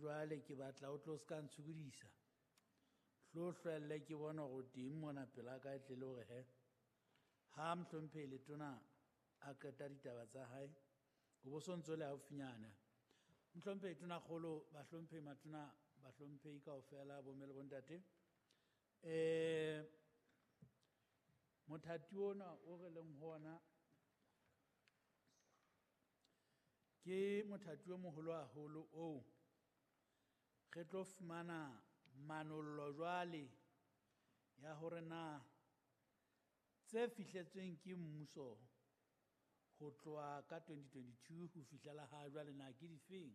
Jwale ke batla o tlo ska ntshokodisa. Hlo hlwelle ke bona hore o teng mona pela ka e tle le hore he. Ha mohlomphehi letona a qeta ditaba tsa hae, o bo sontso le haufinyana. Mohlomphehi Tonakgolo, bahlomphehi matona, bahlomphehi kaofela, bomme le bontate. Mothati ona o re leng ho ona ke mothati o moholo haholo oo re tlo fumana manollo jwale ya hore na tse fihletsweng ke mmuso ho tloha ka 2022 ho fihlela ha jwale na ke difeng,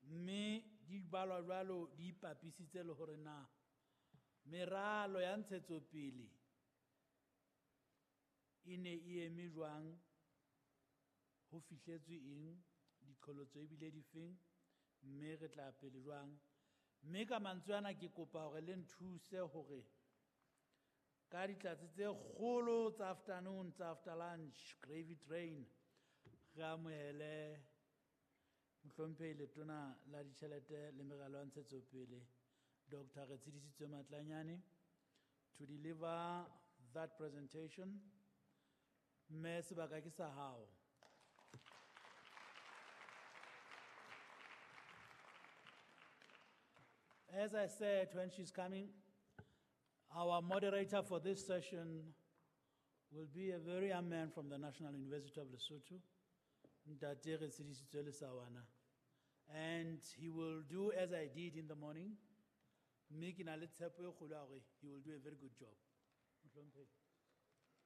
mme di balwa jwalo di ipapisitse le hore na meralo ya ntshetsopele e ne e eme jwang, ho fihletswe eng, diqholotso ebile difeng, mme re tla pele jwang. Mme ka mantswe ana ke kopa hore le nthuse hore ka ditlatse tse kgolo tsa afternoon, tsa after lunch, gravy train, re amohele mohlomphehi letona la ditjhelete le meralo ya ntshetsopele, Doctor Retshidisitswe Matlanyane, to deliver that presentation. Mme sebaka ke sa hao. As I said, when she's coming, our moderator for this session will be a very young man from the National University of Lesotho, Ntate Retshidisitswe Lesawana. And he will do as I did in the morning. Mme ke na le tshepo e kgolo ya hore he will do a very good job. Mohlomphehi.